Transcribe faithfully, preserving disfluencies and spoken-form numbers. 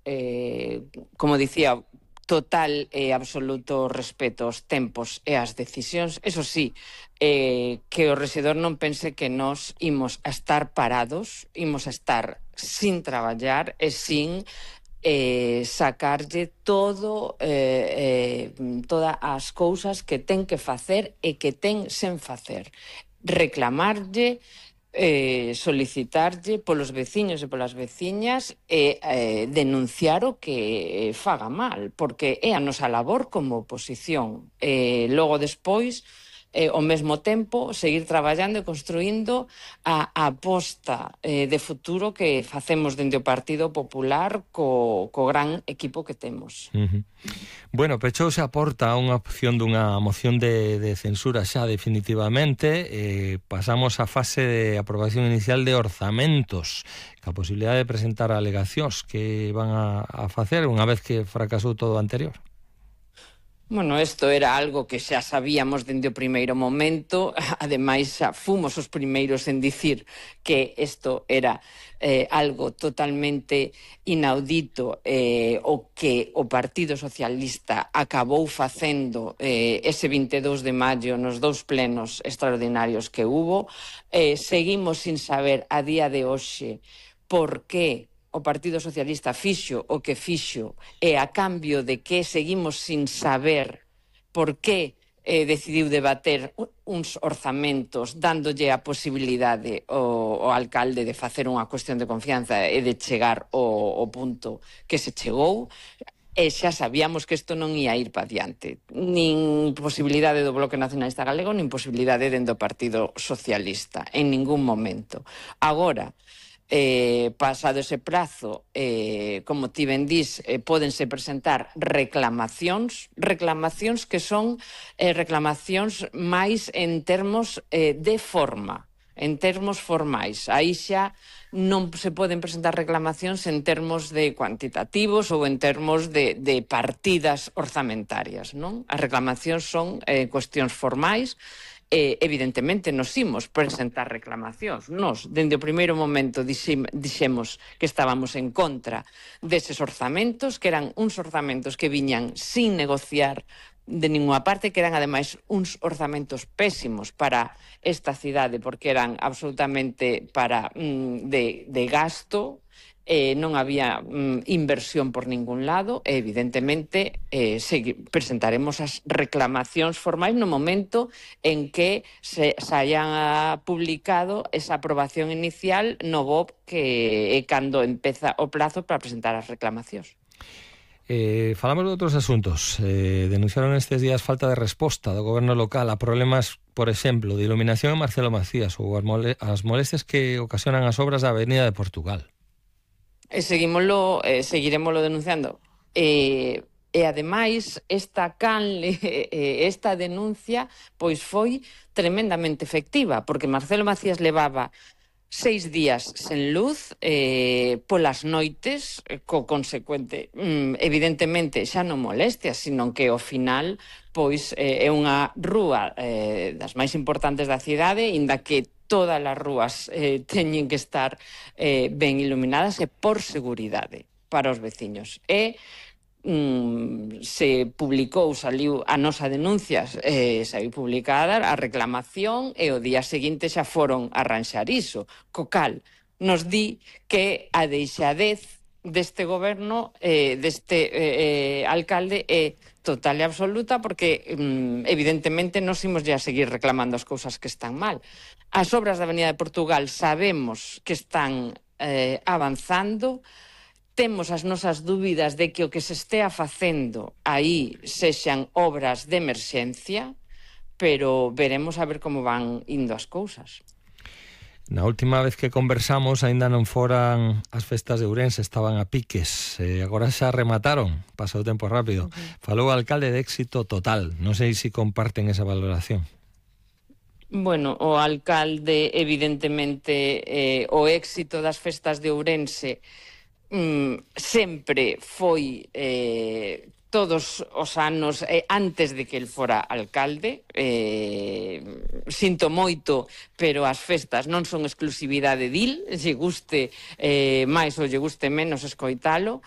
eh, como dicía, total e absoluto respeto aos tempos e ás decisións. Eso sí, eh, que o rexedor non pense que nós imos a estar parados, imos a estar sin traballar e sin eh, sacarlle todo eh, eh, todas as cousas que ten que facer e que ten sen facer. Reclamarlle, eh, solicitarlle polos veciños e polas veciñas e eh, denunciar o que faga mal, porque é a nosa labor como oposición. E logo despois, eh, ao mesmo tempo, seguir traballando e construindo a, a aposta eh, de futuro que facemos dende o Partido Popular co, co gran equipo que temos. Uh-huh. Bueno, pechouse a porta a unha opción dunha moción de, de censura xa definitivamente. Eh, pasamos á fase de aprobación inicial de orzamentos, ca posibilidade de presentar alegacións que van a, a facer unha vez que fracasou todo o anterior. Bueno, isto era algo que xa sabíamos dende o primeiro momento, ademais xa fomos os primeiros en dicir que isto era eh, algo totalmente inaudito, eh, o que o Partido Socialista acabou facendo eh, ese vinte e dous de maio nos dous plenos extraordinarios que hubo. Eh, seguimos sin saber a día de hoxe por que o Partido Socialista fixo o que fixo e a cambio de que seguimos sin saber por que eh, decidiu debater uns orzamentos dándolle a posibilidade ao, ao alcalde de facer unha cuestión de confianza e de chegar ao, ao punto que se chegou. E xa sabíamos que isto non ia ir para diante. Nin posibilidade do Bloque Nacionalista Galego, nin posibilidade dentro do Partido Socialista, en ningún momento. Agora, Eh, pasado ese prazo, eh, como ti ben dís, eh, pódense presentar reclamacións, reclamacións que son eh, reclamacións máis en termos eh, de forma, en termos formais. Aí xa non se poden presentar reclamacións en termos de cuantitativos ou en termos de, de partidas orzamentarias, non? As reclamacións son eh, cuestións formais. Eh, evidentemente nos imos presentar reclamacións. Nos, dende o primeiro momento, dixemos que estábamos en contra deses orzamentos, que eran uns orzamentos que viñan sin negociar de ninguna parte, que eran ademais uns orzamentos pésimos para esta cidade, porque eran absolutamente para mm, de, de gasto. Eh, non había mm, inversión por ningún lado e, evidentemente, eh, segui, presentaremos as reclamacións formais no momento en que se, se hayan publicado esa aprobación inicial no B O P, que é cando empeza o plazo para presentar as reclamacións. Eh, falamos de outros asuntos. Eh, denunciaron estes días falta de resposta do goberno local a problemas, por exemplo, de iluminación en Marcelo Macías ou as, mole as molestias que ocasionan as obras da Avenida de Portugal. E seguimoslo, eh, seguiremoslo denunciando. E, e ademais, esta canle, eh, esta denuncia, pois foi tremendamente efectiva, porque Marcelo Macías levaba seis días sen luz, eh, polas noites, eh, co consecuente, mm, evidentemente, xa non molestias, sino que ao final, pois, eh, é unha rúa eh, das máis importantes da cidade, inda que todas as rúas eh, teñen que estar eh, ben iluminadas e por seguridade para os veciños. E mm, se publicou, saliu a nosa denuncia, eh, saiu publicada a reclamación e o día seguinte xa foron a arranxar iso. Co cal nos di que a deixadez deste goberno, eh, deste eh, alcalde é total e absoluta, porque mm, evidentemente nos imos ya a seguir reclamando as cousas que están mal. As obras da Avenida de Portugal sabemos que están eh, avanzando, temos as nosas dúbidas de que o que se estea facendo aí sexan obras de emerxencia, pero veremos a ver como van indo as cousas. Na última vez que conversamos aínda non foran as festas de Ourense, estaban a piques, e agora xa remataron, pasou o tempo rápido. Uh-huh. Falou o alcalde de éxito total, non sei se comparten esa valoración. Bueno, o alcalde, evidentemente, eh, o éxito das festas de Ourense mm, sempre foi eh, todos os anos eh, antes de que el fora alcalde. Eh, sinto moito, pero as festas non son exclusividade dil, lle guste eh, máis ou lle guste menos escoitalo.